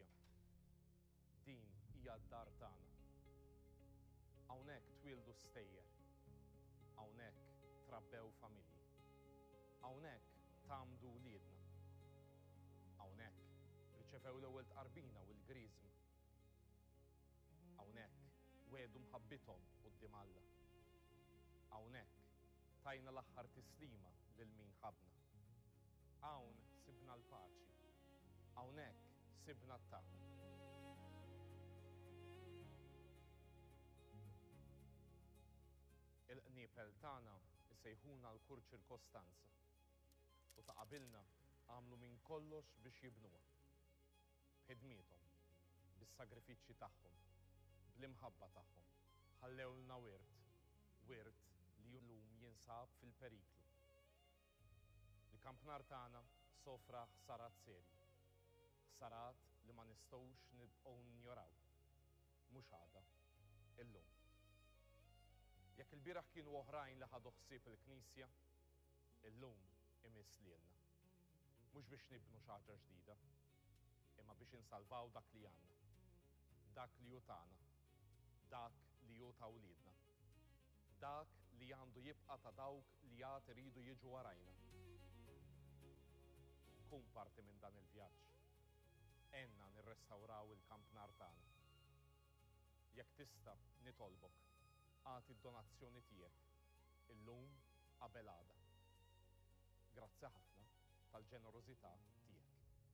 knisja. Din hija d-dar tagħna. Hawnhekk twieldu stejjer. Hawnhekk trabbew familji. Hawnhekk tgħammdu wliedna. Hawnhekk riċevew l-ewwel tqarbina u l-griżma. Hawnhekk wegħdu mħabbithom quddiem Alla. Hawnhekk tajna l-aħħar tislima lil min ħabbna. Hawn sibna l-paċi. Hawnhekk sibna t-tama. Il-qniepel tagħna jsejħuna għal kull ċirkostanza u ta' qabilna għamlu minn kollox biex jibnuha. B'ħidmiethom, bis-sagrifiċċji tagħhom, bl-imħabba tagħhom, ħallewlna wirt, wirt li llum jinsab fil-periklu. Il-kampnar tagħna sofra ħsarat serji. Ħsarat li ma nistgħux nibqgħu ninjoraw. Mhux għada. Illum. Jekk ilbieraħ kienu oħrajn li ħadu ħsieb il-Knisja, illum imiss lilna. Mhux biex nibnu xi ħaġa ġdida, imma biex insalvaw dak li għandna. Dak li hu tagħna. Dak li hu ta' wliedna. Dak li għandu jibqa' ta' dawk li għad iridu jiġu warajna. Kun parti minn dan il-vjaġġ. Għenna nirrestawraw il-kampnar tagħna. Jekk tista' nitolbok, agħti d-donazzjoni tiegħek illum qabel għada. Grazzi ħafna tal-ġenerożità.